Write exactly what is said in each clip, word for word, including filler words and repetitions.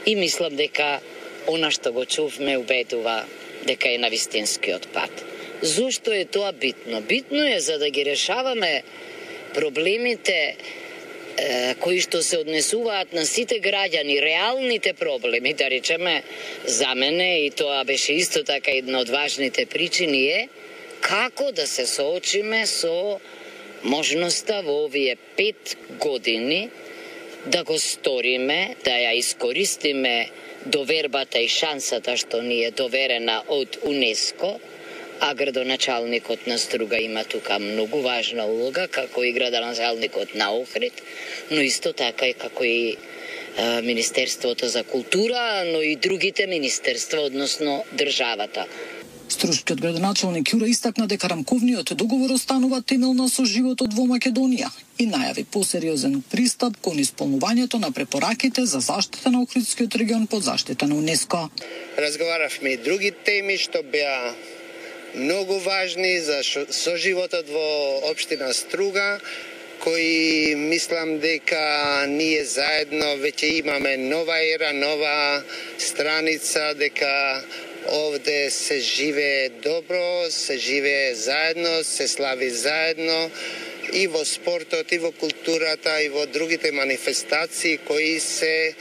И мислам дека она што го чувме убедува дека е на вистинскиот пат. Зошто е тоа битно? Битно е за да ги решаваме проблемите е, кои што се однесуваат на сите граѓани, реалните проблеми, да речеме, за мене, и тоа беше исто така една од важните причини е како да се соочиме со можноста во овие пет години да го сториме, да ја искористиме довербата и шансата што ни е доверена од УНЕСКО, а градоначалникот на Струга има тука многу важна улога, како и градоначалникот на Охрид, но исто така и како и е, Министерството за култура, но и другите министерства, односно државата. Струшкиот градоначалник Јура истакна дека рамковниот договор останува темел на соживотот во Македонија и најави посериозен пристап кон исполнувањето на препораките за заштита на Охридскиот регион под заштита на УНЕСКО. Разговаравме и други теми што беа многу важни за соживотот во општина Струга, кои мислам дека ние заедно веќе имаме нова ера, нова страница, дека овде се живее добро, се живее заедно, се слави заедно и во спортот, и во културата, и во другите манифестации кои се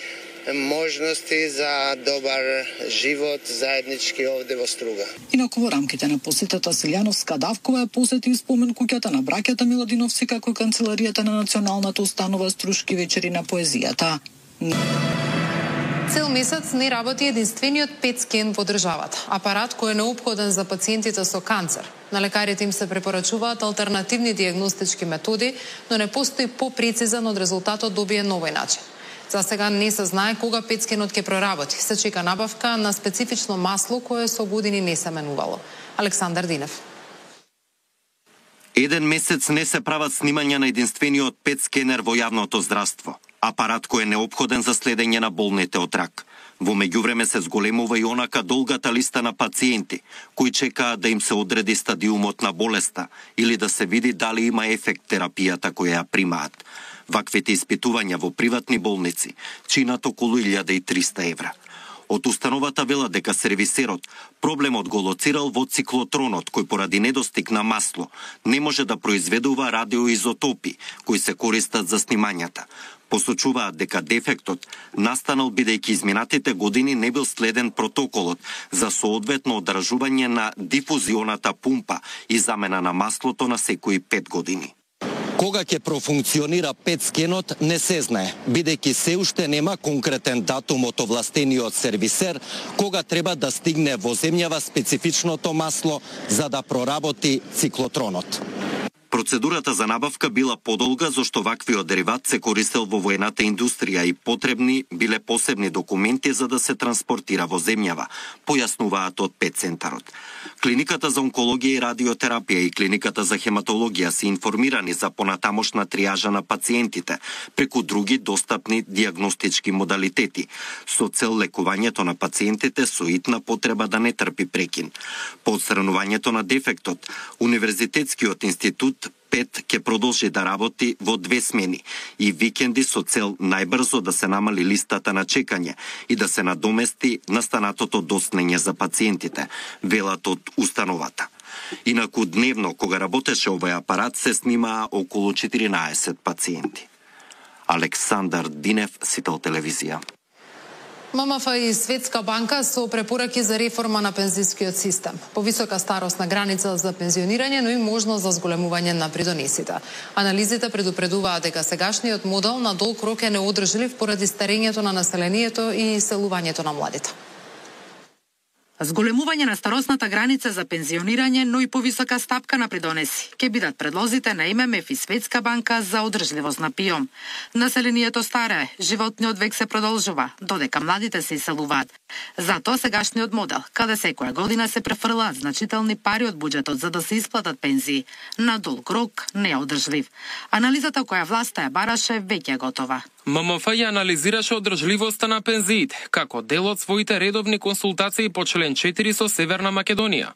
можности за добар живот заеднички овде во Струга. Инаку во рамките на посетата Силјановска Давкова ја посети и спомен куќата на браќата Миладиновци, како и канцеларијата на националната установа Струшки вечери на поезијата. Цел месец не работи единствениот пет скен во државата. Апарат кој е неопходен за пациентите со канцер. На лекарите им се препорачуваат алтернативни диагностички методи, но не постои попрецизен од резултатот добиен на овој начин. За сега не се знае кога пет скенот ќе проработи. Се чека набавка на специфично масло кое со години не се менувало. Александар Динев. Еден месец не се прават снимања на единствениот пет скенер во јавното здравство. Апарат кој е неопходен за следење на болните од рак. Во меѓувреме се зголемува и онака долгата листа на пациенти кои чекаат да им се одреди стадиумот на болеста или да се види дали има ефект терапијата која ја примаат. Ваквите испитувања во приватни болници чинат околу илјада и триста евра. Од установата велат дека сервисерот проблемот го лоцирал во циклотронот, кој поради недостиг на масло не може да произведува радиоизотопи кои се користат за снимањата. Посочуваат дека дефектот настанал бидејќи изминатите години не бил следен протоколот за соодветно одржување на дифузионата пумпа и замена на маслото на секои пет години. Кога ќе профункционира пет скенот не се знае, бидејќи се уште нема конкретен датум од овластениот сервисер кога треба да стигне во земјава специфичното масло за да проработи циклотронот. Процедурата за набавка била подолга зашто ваквиот дериват се користел во воената индустрија и потребни биле посебни документи за да се транспортира во земјава, појаснуваат од пет центарот. Клиниката за онкологија и радиотерапија и клиниката за хематологија се информирани за понатамошна триажа на пациентите преку други достапни диагностички модалитети со цел лекувањето на пациентите со итна потреба да не трпи прекин. По отстранувањето на дефектот, Универзитетскиот институт пет ќе продолжи да работи во две смени и викенди со цел најбрзо да се намали листата на чекање и да се надомести настанатото доснење за пациентите, велат од установата. Инаку дневно, кога работеше овој апарат, се снимаа околу четиринаесет пациенти. Александар Динев, Сител телевизија. ММФ и Светска банка со препораки за реформа на пензискиот систем. Повисока старосна граница за пензионирање, но и можност за зголемување на придонесите. Анализите предупредуваат дека сегашниот модел на долг рок е неодржлив поради старењето на населението и иселувањето на младите. Зголемување на старосната граница за пензионирање, но и повисока стапка на придонеси ќе бидат предлозите на ММФ и Светска банка за одржливост на ПИОМ. Населението старее, животниот век се продолжува, додека младите се иселуваат. Затоа сегашниот модел, каде секоја година се префрлаат значителни пари од буџетот за да се исплатат пензии, на долг рок не е одржлив. Анализата која власта ја бараше веќе е готова. ММФ ја анализираше одржливоста на пензиите како дел од своите редовни консултации по член четири со Северна Македонија.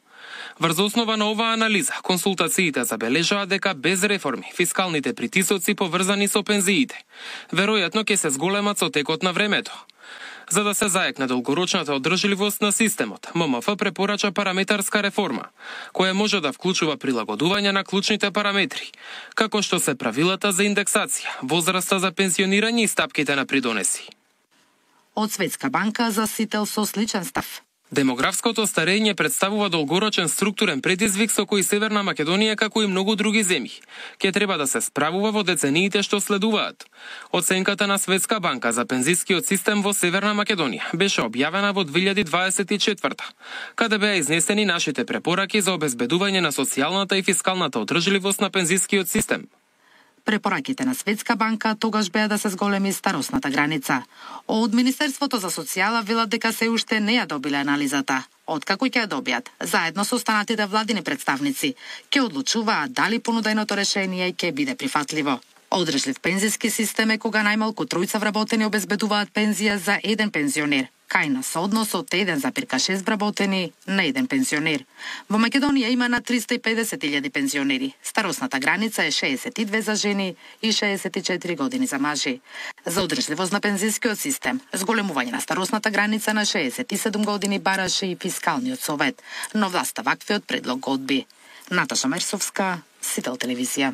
Врз основа на оваа анализа, консултациите забележаат дека без реформи фискалните притисоци поврзани со пензиите веројатно ќе се зголемат со текот на времето. За да се заекне долгорочната одржливост на системот, М М Ф препорача параметарска реформа, која може да вклучува прилагодување на клучните параметри, како што се правилата за индексација, возраста за пензионирање и стапките на придонеси. Од Светска банка за сител со сличен став. Демографското старење представува долгорочен структурен предизвик со кој Северна Македонија, како и многу други земји, ќе треба да се справува во децениите што следуваат. Оценката на Светска банка за пензискиот систем во Северна Македонија беше објавена во две илјади дваесет и четврта, каде беа изнесени нашите препораки за обезбедување на социјалната и фискалната одржливост на пензискиот систем. Препораките на Светска банка тогаш беа да се зголеми старосната граница. Од Министерството за социјала велат дека се уште не ја добиле анализата. Откако ќе ја добијат, заедно со останатите владини представници, ќе одлучуваат дали понуденото решение ќе биде прифатливо. Одржлив пензиски систем е кога најмалку тројца вработени обезбедуваат пензија за еден пензионер, кај на сооднос од еден запирка шест вработени на еден пензионер. Во Македонија има на триста и педесет илјади пензионери. Старосната граница е шеесет и две за жени и шеесет и четири години за мажи. За одржливост на пензискиот систем, зголемување на старосната граница на шеесет и седум години бараше и Фискалниот совет, но власта ваквиот предлог го одби. Наташа Мерсовска, Сител телевизија.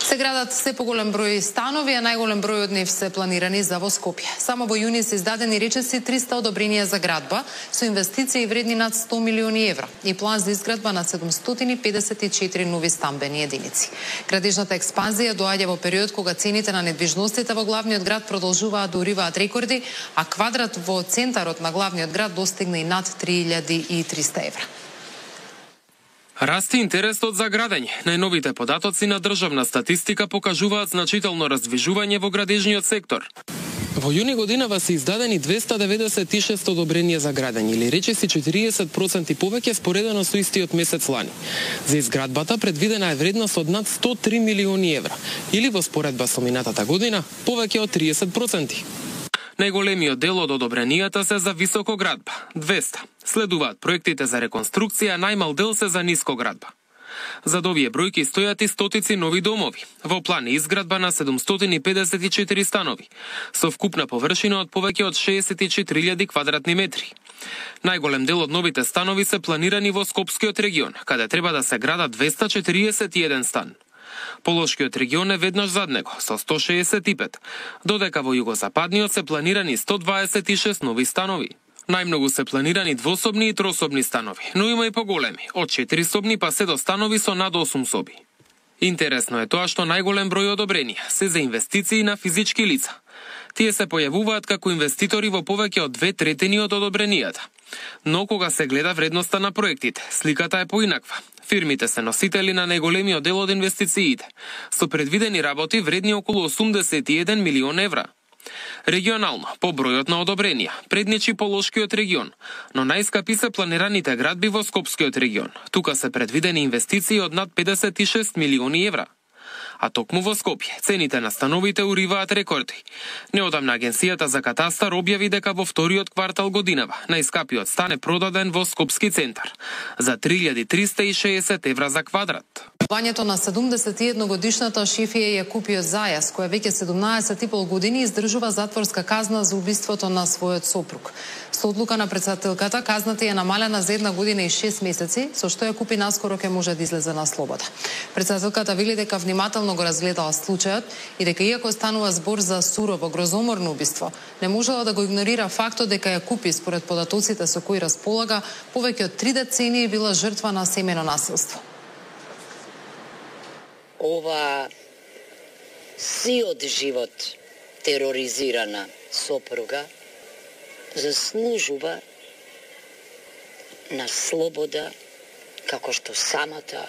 Се градат се поголем број станови, а најголем број од нив се планирани за во Скопје. Само во јуни се издадени речиси триста одобренија за градба со инвестиции вредни над сто милиони евра и план за изградба на седумстотини педесет и четири нови стамбени единици. Градежната експанзија доаѓа во период кога цените на недвижностите во главниот град продолжуваат да уриваат рекорди, а квадрат во центарот на главниот град достигна и над три илјади и триста евра. Расти интересот за градење. Најновите податоци на државна статистика покажуваат значително раздвижување во градежниот сектор. Во јуни годинава се издадени двеста деветдесет и шест одобренија за градење, или речиси четириесет проценти повеќе споредено со истиот месец лани. За изградбата предвидена е вредност од над сто и три милиони евра, или во споредба со минатата година повеќе од триесет проценти. Најголемиот дел од одобренијата се за високоградба – двеста. Следуваат проектите за реконструкција, најмал дел се за нискоградба. Зад овие бројки стојат и стотици нови домови. Во план е изградба на седумстотини педесет и четири станови, со вкупна површина од повеќе од шеесет и четири илјади квадратни метри. Најголем дел од новите станови се планирани во Скопскиот регион, каде треба да се градат двеста четириесет и еден стан. Полошкиот регион е веднаш зад него, со сто шеесет и пет, додека во југозападниот се планирани сто дваесет и шест нови станови. Најмногу се планирани двособни и трособни станови, но има и поголеми, од четири собни па се до станови со над осум соби. Интересно е тоа што најголем број одобренија се за инвестиции на физички лица. Тие се појавуваат како инвеститори во повеќе од две третини од одобренијата. Но кога се гледа вредноста на проектите, сликата е поинаква. Фирмите се носители на најголемиот дел од инвестициите, со предвидени работи вредни околу осумдесет и еден милион евра. Регионално, по бројот на одобренија, предничи Полошкиот регион, но најскапи се планираните градби во Скопскиот регион. Тука се предвидени инвестиции од над педесет и шест милиони евра. А токму во Скопје, цените на становите уриваат рекорди. Неодамна Агенцијата за катастар објави дека во вториот квартал годинава најскапиот стан е продаден во Скопски центар за три илјади триста и шеесет евра за квадрат. Вањето на седумдесет и едногодишната Шифија Јакупиот Зајас, која веќе седумнаесет и пол години издржува затворска казна за убиството на својот сопруг. Со одлука на претседателката, казната е намалена за една година и шест месеци, со што Јакупи наскоро ќе може да излезе на слобода. Претседателката вели дека внимателно го разгледала случајот и дека иако станува збор за сурово, грозоморно убиство, не можела да го игнорира фактот дека Јакупи, според податоците со кои располага, повеќе од три децении била жртва на семено насилство. Ова сиот живот тероризирана сопруга заслужува на слобода, како што самата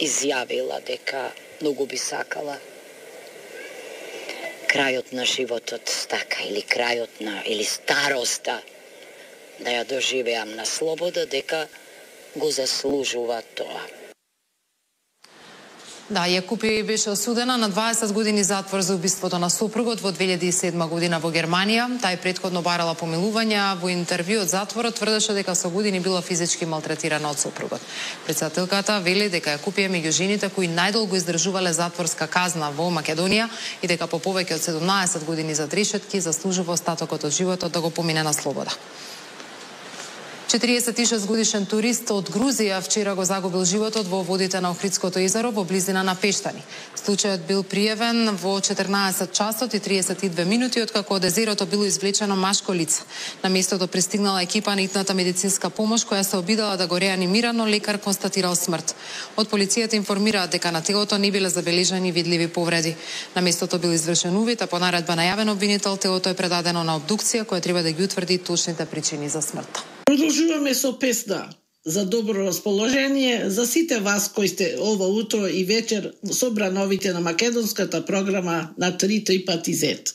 изјавила дека многу би сакала крајот на животот така или крајот на или староста да ја доживеам на слобода, дека го заслужува тоа. Да, Јакупи беше осудена на дваесет години затвор за убиството на сопругот во две илјади и седма година во Германија. Тај претходно барала помилување, во интервју од затворот тврдеше дека со години била физички малтретирана од сопругот. Председателката вели дека Јакупи е меѓу жените кои најдолго издржувале затворска казна во Македонија и дека по повеќе од седумнаесет години за решетки заслужува остатокот од животот да го помине на слобода. четириесет и шест годишен турист од Грузија вчера го загубил животот во водите на Охридското езеро во близина на Пештани. Случајот бил пријавен во четрнаесет часот и триесет и две минути откако од езерото било извлечено машко лице. На местото пристигнала екипа на итната медицинска помош која се обидала да го реанимира, но лекар констатирал смрт. Од полицијата информираат дека на телото не биле забележани видливи повреди. На местото бил извршен увид, а по наредба на јавен обвинител телото е предадено на обдукција која треба да ги утврди точните причини за смртта. Продолжуваме со песна за добро расположение за сите вас кои сте ова утро и вечер собра новите на македонската програма на три три пати зет.